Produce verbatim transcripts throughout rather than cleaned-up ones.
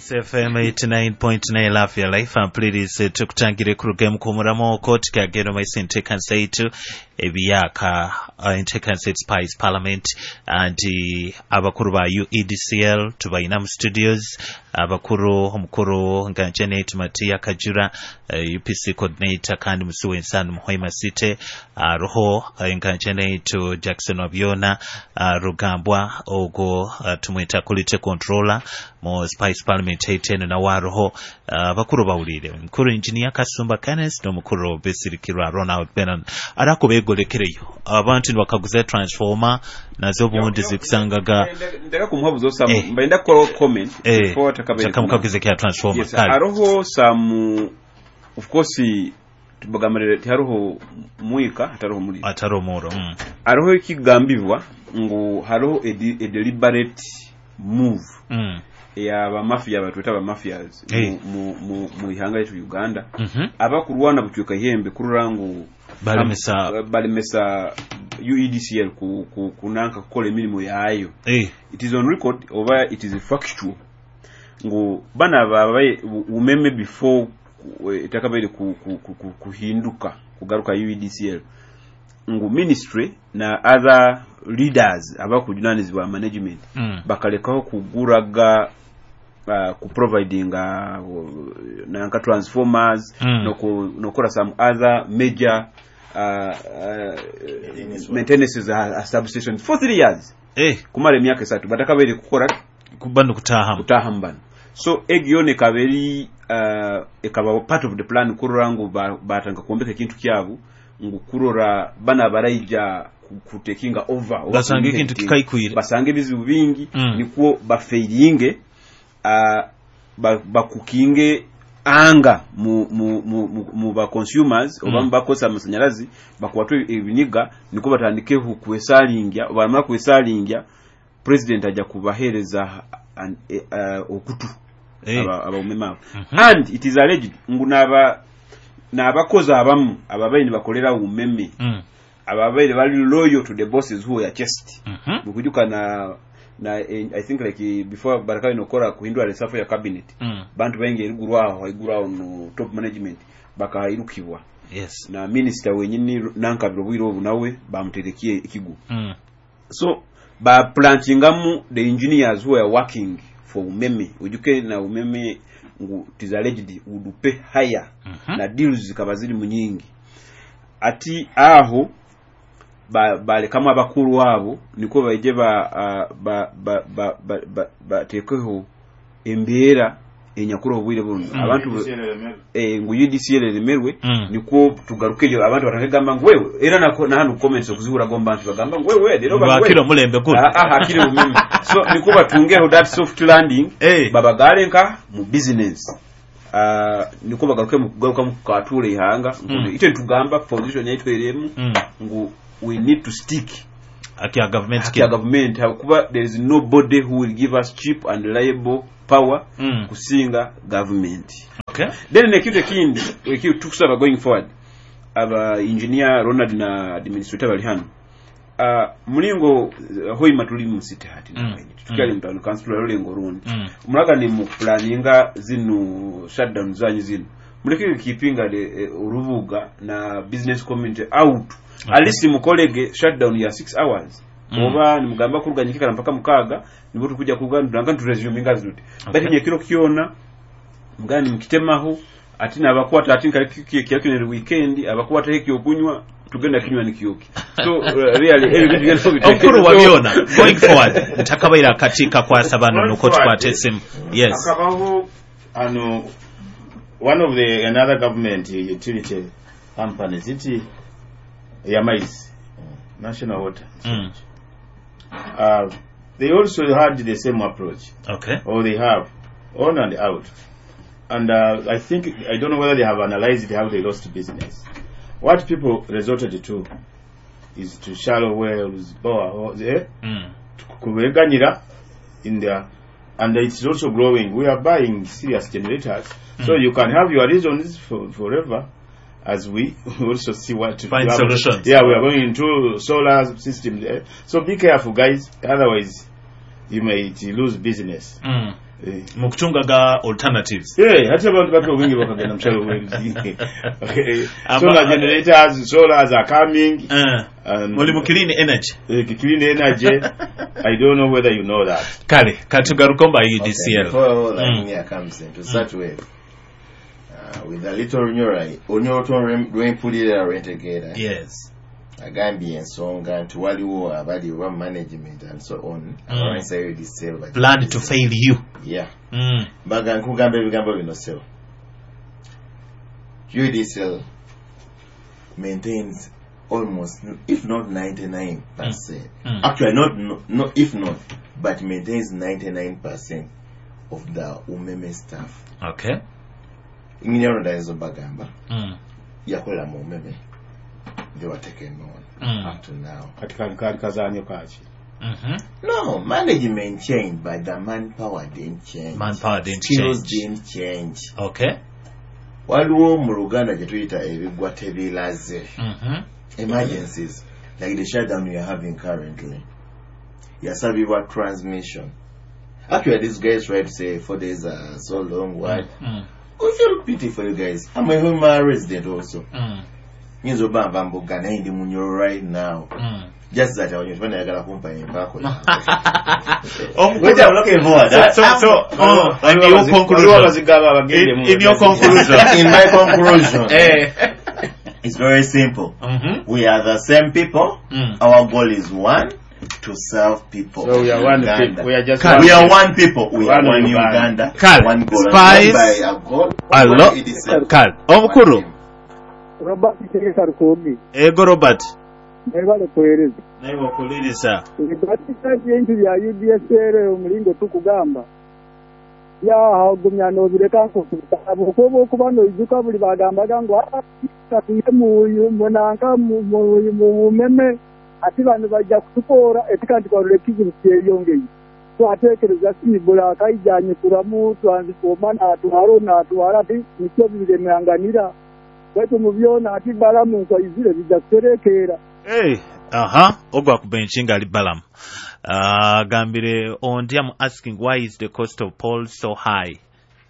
Spice F M eighty-nine point nine, Love Your Life. Ampulirize, tukutangire kuruga mukumuramu okwo, tukagenda maiso enteekanisa yaitu ebiyaka, uh, enteekanisa yaitu Spice Parliament. Nti abakuru ba U E D C L tubayina mu studios, abakuru, omukuru nga Janet Matia Kajura, uh, U P C coordinator, kandi musi w'ensano Muhoima City aroho, uh, nga Janet Jackson Wabyona, uh, Rugambwa ogwo, uh, tumweta quality controller mu Spice Parliament yaitu eno, nawe aroho. uh, abakuru bawulire, omukuru Engineer Kasumba Kenneth n'omukuru Bisirikirwa Ronald Benon arako begolekereyo abantu nibakaguza transformer nazo obundi zikusangaga. Ndeka kumuhabuza some, Eh. mbaenda kukola comment eh, before takabaire. Takamukaguza kya transformer. Yes. Kale. Hariho some, of course tubagamire tihariho mwika hatariho muliro. Atari omuro mm. Hariho ekigambibwa ngu hariho a, de- a deliberate move Mm. ey'abamafia, batweta abamafias Eh. mu, mu, mu ihanga lyaitu Uganda, Mhm. abakurwana bucweka ihembe kurora ngu balemesa. am- balemesa U E D C L ku, ku, kunanka kukola emirimu yayo. eh. It is on record oba it is factual ngu bana babaye umeme before eh, etakabaire ku, ku, ku, ku, kuhinduka kugaruka U E D C L, ngu ministry na other leaders abakujunanizibwa management Mm. bakalekaho kuguraga, uh, kuprovidinga uh, nanka transformers Mm. noku- nokola some other major uh, uh, maintenances a, a substations for three years, eh. kumara emyaka esatu batakabaire kukora. Kuba nokutahamu. Kutaha bano, so egyo ekaba eri uh, ekaba part of the plan kurora ngu ba- batandika kwombeka ekintu kyabu, ngu kurora bana baraija ku- kutekinga over oba basanga ekintu kuinheritinga. Kikaikwire. Basanga ebizibu bingi, Mm. nikwo bafeiringe, uh, ba- bakukinge anga mu, mu, mu, mu, mu ba consumers oba Mm. mu bakozesa amasanyalazi, bakwatwe ebiniga, nikwo batandikeho kwesalingya. Bamara kwesalingya, president ajja kubahereza an- eh, uh, okutu Eh. aba- abaumeme abo. Mhm. And it is alleged ngu naba n'abakozi abamu ababaire nibakolera umeme, Mm. ababaire bali loyal to the bosses who were chased, Mhm. mukujuka na na eh, I think like eh, before barakabi nokora kuhindura reshuffle ya cabinet, Mm. bantu baingi eriguru aho haiguru aho no top management bakairukibwa, yes na minister wenyini nankabiro obwire obu nawe bamuterekie ekigo. mm. So baplantingamu the engineers who were working for umeme. Ujuke na umeme ngu it is alleged would pay higher, Mhm. na deals zikaba ziri mu nyingi, ati aho ba- balekamu abakuru abo, niko baije ba ah, ba ba ba ba- ba- batekeho embeera enyakuru obwire buno Mm. abantu eh, ngu U D C L eremerwe, Mm. nikwo tugarukeyo abantu batakagamba ngu wewe era nako na hano comments okuzihura gomba bantu bagamba ngu wewe rero bakira omulembe guno. Ah, ah, hakiri umeme, so niko batungeho that soft landing, Eh. babagale nka mu business, uh, niko bagaruke mu kugaruka mu katura ihanga. Mm. Ite tugamba position yaitu eremu Mm. ngu we need to stick akya government. Haki ya government, hakuba there is nobody who will give us cheap and reliable power Mm. kusinga government. Okay then nekintu ekindi eki tukusaba going forward, aba engineer Ronald na administrator bali hano, uh, mulingo uh, Hoima tuli mu city hati, Mm. tukyali Mm. mu town council rulengo rundi, Mm. mulaga ni mu planninga zino shutdown zanyu zino, muleke keepinga the eh, urubuga na business community out. Okay. At least mukolege shutdown ya six hours, Mm. oba nimugamba kuruganyikikala mpaka mukaga, nibo tukuja kuganda nanga turesuminga zuti, Okay. but nyekiro kyona mugani mukitemaho ati nabakwata ati nkali weekend abakwata ekyokunywa tugenda kinywa nikyoki. So uh, really ebyo bintu byona Omukuru wa byona, going forward, ntakabaire akakiiko akwasa bano nuko tukwata esimu, yes. Akabaho ano one of the another government utility companies iti eyamaizi, National Water, Mm. uh, they also had the same approach, okay or they have on and out, and uh, I think, I don't know whether they have analyzed how they lost business. What people resorted to is to shallow wells, bore eh? mm. Kubeganyira in there, and it's also growing. We are buying serious generators, so Mm. you can have your reasons for forever as we also see what to find have. Solutions. Yeah, we are going into solar systems, eh? So be careful, guys, otherwise you may lose business. Mm. Eh. Mukutunga ga alternatives. Yeah, hati abantu bake obwingi bakagenda mu shallow wells. Okay. Aba- Solar generators, solars are coming. Uh, And muli mu clean energy. uh, clean energy. I don't know whether you know that. Kale katugaruko mba Okay, U D C L. before Mm. Lavinia comes in, to start with, uh, with a little Runyoro, Olunyoro lwempulira lwentegeera, Yes. agambye ensonga nti waliwo abali oba management and so on, Mm. abalwanyisa U D C L bagi- Plan to fail you. Yeah. Mm. Mbaga nkugamba ebigambo bino, ssebo. U D C L maintains almost, if not ninety-nine percent, Mm. actually not, no, no, if not, but maintains ninety-nine percent of the Umeme staff. Okay. Engineer Ronda bagamba Mm. yakolera mu Umeme, they were taken on Mm. up to now. Kati kali kali kazanyo kaki? Mm-hmm. No, management changed, but the manpower didn't change. Manpower didn't Skills change. didn't change. Okay. Waliwo mu Luganda gye tuyita ebigwa tebiraze. Mm-hmm. Emergencies like the shutdown we are having currently yasabibwa transmission. Actually, these guys try to say four days are so long. What? Mm. We feel pity for you guys. I'm a Hoima resident also. Mm. Nyinza oba nva Mbuga naye ndi Munyoro right now. Mm. Just that abanyo banayagala kumpa empaako. Omukulu- Which I'm looking forward. So, so, so, oh, in your conclusion. Abazigaba abagende In, mu in your conclusion. In my conclusion, Eh. it's very simple. Mm-hmm. We are the same people. Mm. Our goal is one, to serve people. So we are one Uganda. people. We are just Kale. one We are people. one people. We are One one Uganda. Uganda. Kale. One goal. Spice. One by a goal. Allo. One E D C. Kale. Omukulu. One team. Robert Tegeka Rukuugi. Ego Robert. Mwebale kuweereza. Naye okuliriza. Ebikwatisa ebintu bya U D S L omulingo tukugamba yahagumya nobireka nkukuba okuba noijuka buli bagambaga ngu "Ah, tuye munanka mu Bumeme ati bano bajja kutukoora eti kandi twarora ekizibu kyeyongeye twateekereza siibula akaijanyikuramu transformer natwara natwara ati nikyo biremanganira baitu mu byona ati balamu nkwaizire bijja kuterekeera." Hey, aha, ogwa ku bench nga ali Balaam. Agambire ondi, "I'm asking, why is the cost of poles so high?"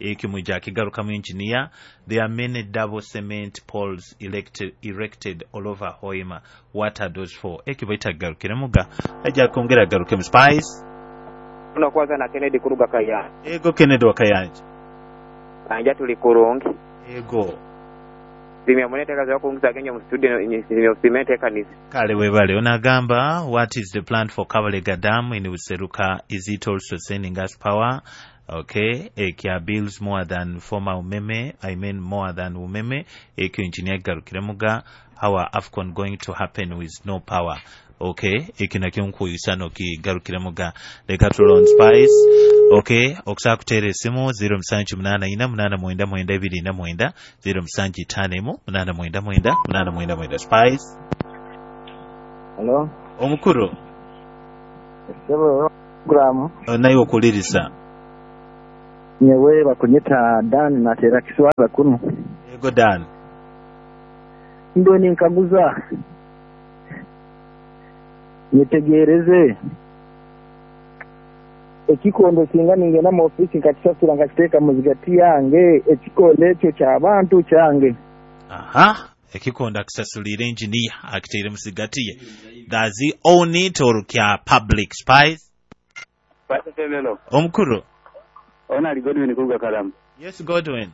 Ekyo mwija akigarukamu engineer. There are many double cement poles elected, erected all over Hoima. What are those for? Ekyo baita agarukiremu ga ajja kwongera agarukemu. Spice. Tunakwaza na Kennedy kuruga Kayanja. Ego Kennedy wa Kayanja. Kanja tuli kurungi. Ego. Simya muneteka za kungiza kenya mu studio simya simete kanisa. Kale webale. Onagamba, "What is the plan for Kabalega Dam in Buseruka? Is it also sending us power?" Okay, ekya bills more than former Umeme, I mean more than Umeme. Ekyo engineer garukiremuga. How are AFCON going to happen with no power? Okay, ekyo nakyo nkuyisa nokigarukiremuga. Leka tulon Spice. Okay, okusobola kuteera esimu zero musanju munaana ina munaana mwenda mwenda ebiri na mwenda, zero musanju ttaano emu munaana mwenda mwenda munaana mwenda mwenda. Spice. Hello. Omukulu. Ssebo program. Naye okuliriza. Nyewe bakunyita Dan natera kiswaza kuno. Ego Dan. Ndo ninkaguza nyetegereze ekikondo singa ningenda mu ofisi nkakisasula nkakiteeka mu zigati yange, ekikondo ekyo kyabantu kyange? Aha, ekikondo akisasulira engineer akiteire musigati ye, does he own it or kya public? Spice. Pastor. Omukulu. Ona ali Godwin kuruga Karamu. Yes, Godwin.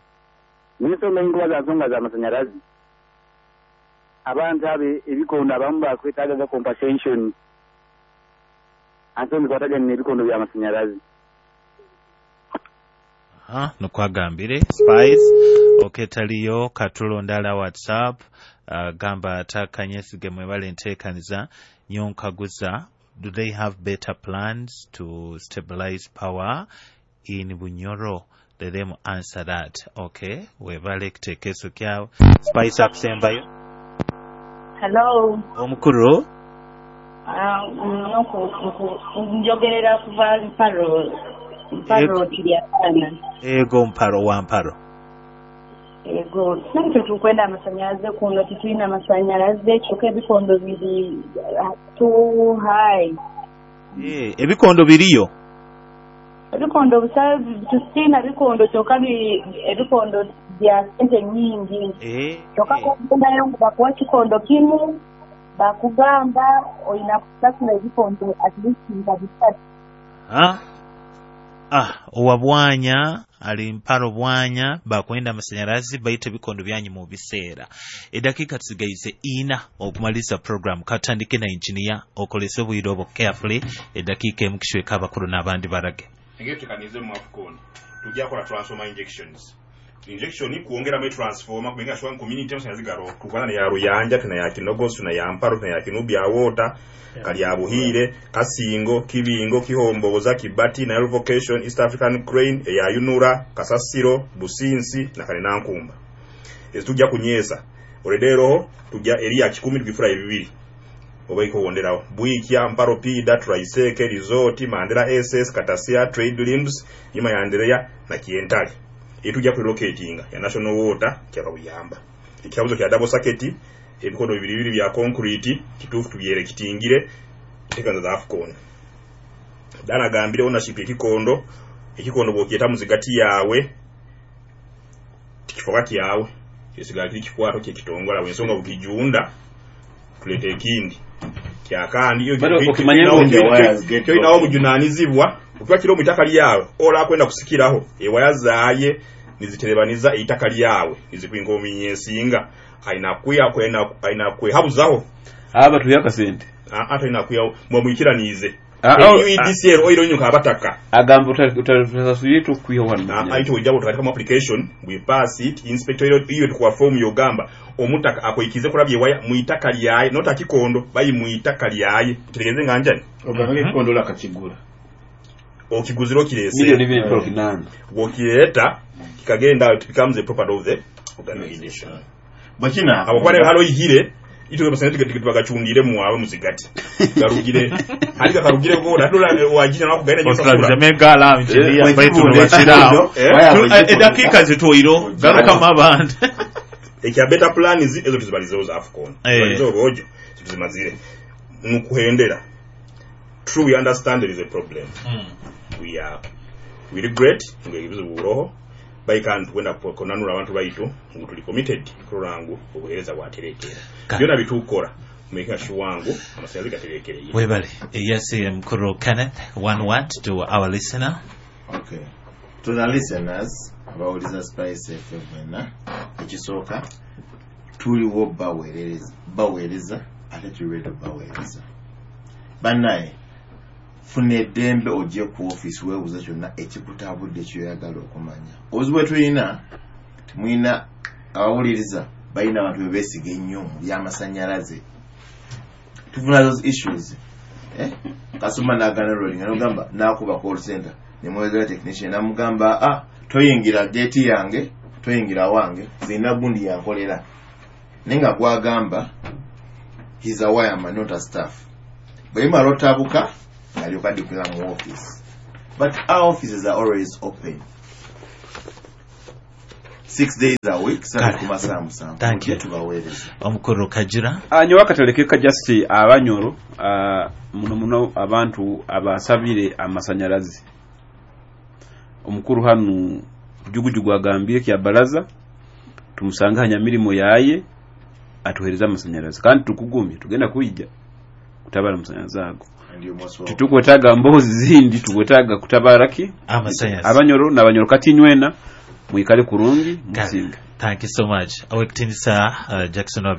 Nisoma enkuba za nsonga z'amasanyalazi. Abantu abe ebikondo abamu bakwetaaga compensation. Ate mikwatagana n'ebikondo by'amasanyalazi. Aha, nukwagambire Spice. Okay, taliyo katulondala WhatsApp. uh, gamba atakanyesige mwebale nteekaniza nyonkaguza, do they have better plans to stabilize power in Bunyoro? Let them answer that. Okay, webale kitekeeso kyawe. Spice akusembayo. Hello. Omukulu. Ah, nku- nku- njogerera kuva Mparo, Mparo Kiryakana. Ego Mparo wa Mparo. Ego, naffe tukwenda amasanyalaze kuno tetulina amasanyalaze kyokka ebikondo biri ah, too high. Eh, ebikondo biriyo. Ebikondo busa tusiina bikondo kyokka bi- ebikondo bya sente nyingi. Eh, Kyokka eh. kogendayo ngu bakuwa kikondo kimu bakugamba olina kusasula ebikondo at least nga bisatu. Ah, ah, owa bwanya ali mparo bwanya bakwenda amasanyalazi baita ebikondo byanyu mu biseera. Eddakiika tusigaize ina okumaliriza program. Katandike na engineer, okolese obwire obwo carefully. Eddakiika emu kishweka abakulu n'abandi barage. Engeri tutekanize mu AFCON, tujja kukola transformer injections, injection kuongeramu etransformer kumenga sure community amasanyalazi garo tukwana ne ya Ruyanja, tuna ya Kinogosi, tuna ya Mparo, tuna ya Kinubya Water, kali ya Buhire, Kasingo, Kibingo, Kihomboza, Kibati na Revocation, East African Crane, ya Yunura, Kasasiro, Businsi na Kanenankumba. Ezo tujja kunyesa oredero, tujja eri ya kikumi tugifura ebibiri oba ikuwonderawo Bwikya, Mparo, Pida, Traiseke, Resort, Mandera S S, Katasia, Trade Limbs, Nyuma ya Anderea na Kientale. Etujja kurelocatinga ya National Water kyababuyamba ekyabuzo kya double circuit, ebikondo bibiri bibiri bya concrete kituufu tubyere kitingire ntekanza za AFCON. Dana gambire ownership ekikondo ekikondo bw'okyeta muzigati yaawe tikifoka kyawe, kisigala kiri kikwato kyekitongole wensonga bukijunda tuleeta ekindi kyakandi. Bado okimanya ngu the wires get kyolinawo broken. Obujunanizibwa okuba kiri omu itaka lyawe ola kwenda kusikiraho ewaya zaaye niziterebaniza eitaka lyawe nizikwinga omuminya ensinga ayina kwiya ayina kwehabuzaho. Aba tuya akasente. Ate ayina kwiya mwamwikiraniize. Ah, oh, U E D C L oiro nyuka abataka. Agamba utasasuye tukwiha wano. Aito ojja utakatika mu application, we pass it, inspector iyo iyo tukuwa form yogamba omutaka akoikize kulabye waya muitaka lyaye nota kikondo bayi muitaka lyaye tutegeze nga njani. Ogamba ekikondo lakakigula. Okiguzira okirese. Milioni bibiri emitwalo kinaana. Bw'okireeta kikagenda, it becomes a property of the organization. Bakina abo kuba halo ihire ito basente tibagachungire mwawe muzigati garugire alika karugire gona dola wajina nakugaina Otulabiza megala engineer Eh, baitu bwe nobakirawo. Eh? Tu- eh, eddakiika zitwoiro garukamu abandi. Ekya better plan zi ezo tuzibalizeho za AFCON. Eh. Tuzibalizeho rwojo tuzimazire nukuhendera. True, we understand there is a problem. We are we regret ngo ebizibu buroho bayikantu kwenda konanura abantu baitu ngu tuli committed kurola ngu obuheereza bwaterekera. Ka- Byona bitukora making sure ngu amasanyalazi gaterekereye. Webale. Yes, mkuru Kenneth, one word to our listener. Okay. To the listeners abawuliza Spice F M mwena, ekisooka tuliwo baweereza baweereza ate tuli ready baweereza. Bannaye, funa eddembe ojje ku ofiisi weebuuza kyonna ekikutabudde kyoyagala okumanya. Obuzibu bwe tulina, temulina abawuliriza balina abantu be beesiga ennyo mu byamasannyalaze. Tufuna those issues, eh? Kasoma n'agana rolling nogamba n'akuba call center nemwezera technician namugamba, "Ah, toyingira gate yange, toyingira wange, zirina gundi yankolera." Naye nga gwagamba he's a wireman, not a staff. Bwe bimala otabuka alyoka addukira mu office, but our offices are always open six days a week, Kale. ku masaa musanvu. Thank you. Mujje tubaweereza. Omukuru Kajira. Anyowe akataleke ka just abanyoro, ah, muno muno abantu abasabire amasanyalazi. Omukuru hanu jugujugu agambire kya baraza tumusanga hanya yaye atuhereza amasanyalazi kandi tukugumye tugenda kwijja kutabara amasanyalazi ago. And you must welcome. Titukwetaaga mbozi zindi, tukwetaaga kutabara ki? Amasanyalazi. Abanyoro n'abanyoro kati nywena mwikale kurungi Kale. musinga. Thank you so much, owekitinisa uh, Jackson Wabyo.